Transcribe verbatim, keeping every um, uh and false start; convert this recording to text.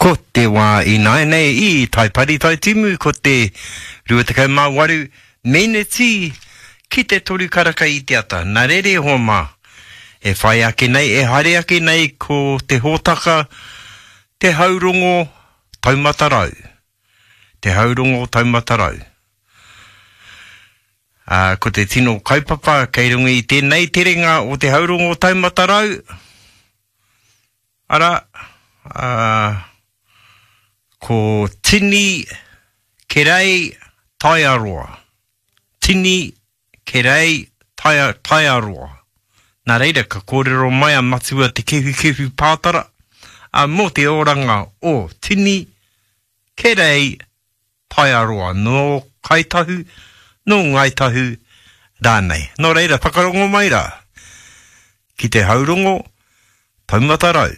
Ko te wā ināianei i Taipari Taitimu, ko te rua tekau mā waru meneti ki te toru karaka i te ata. Nā reira e hoa mā, e whai ake nei, e haere ake nei ko te hōtaka Te Haurongo Taumata Rau. Te Haurongo Taumata Rau. Ā, ko te tino kaupapa kei runga i tēnei terenga o Te Haurongo Taumata Rau, arā, ā, ko Tini Kerei Taiaroa. Tini Kerei Taia, Taiaroa. Nā reira, ka kōrero mai a Matua Te Kehukehu Pātara, ā, mō te oranga o Tini Kerei Taiaroa, nō Kāi Tahu, nō Ngāi Tahu rānei. Nō reira, whakarongo mai rā ki te haurongo taumata rau.